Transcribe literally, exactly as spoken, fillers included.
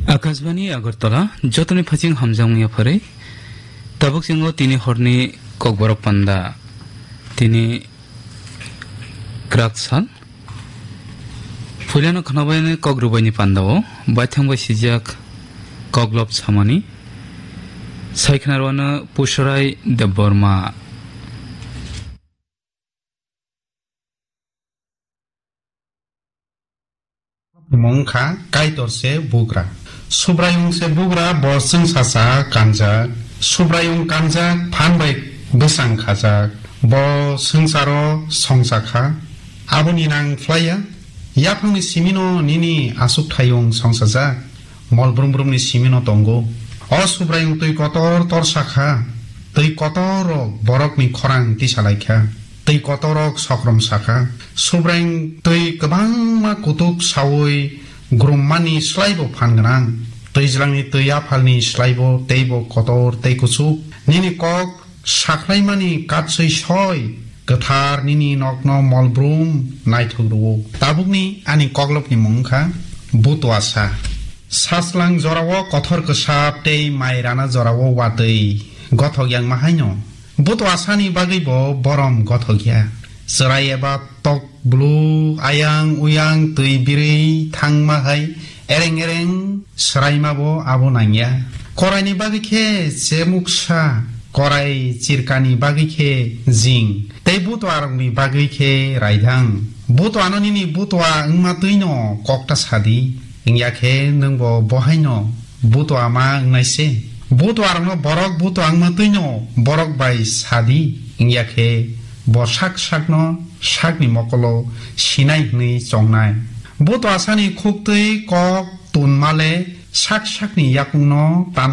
Akashbani Agartala, jotoni phaching hamjakmung yapharwi. Tabuk chingo tini horni kokborok panda. Tini kwrak sal. Puilano khnabaini kok rubaini pandao, baithang bai sijak koklop samani. Saikhnarwano Pusarai Debbarma. Mung kha Kaitor se bugra. Subraiyung se bugra, bo chwngsacha kanjak. Subraiyung kanjak, phan bai bwsang khajak. Bo swngcharo songcha kha. Aboni nang phlaiya. Yaphangni simino nini achukthayung songsajak. Mol brum brumni simino tongo. O Subraiyung twi kotor torsa kha. Twi kotor rok borokni khorang tisalai kha. Twi kotorok sokrom sakha, Subraiyung twi kwbangma kutuk saui grummani slaibo phan gwnang. Twijlangni twi aphalni slaibo teibo kotor tei kuchuk. Nini kok sakhlaimani katswi soi, kwthar nini nokno mol brum naithok rwo. Tabukni ani koklopni mung wngkha Butuasa. Sachlang jorao kothor kwsap tei mai rana jorao watwi gothok yangma haino. Butuasani bagwi bo borom gothok ya. Chwrai eba tok blu, ayang uyang twi birwi thangma hai ereng ereng swraima bo abo nangya. Koraini bagwi khe chemuksa, korai chirkani bagwi khe jing, tei butuarokni bagwi khe raidhang. Butuano nini butua wngma twino kokta sadi. Wngya khe nwng bo bohaino butua ma wngnai se. Butuarokno borok butua wngma twino borok bai sadi. Wngya khe bo sak sakno sakni mokolo sinai hwnwi chongnai. Butuasani khuktwi kok tunmale sak sakni yakungno tan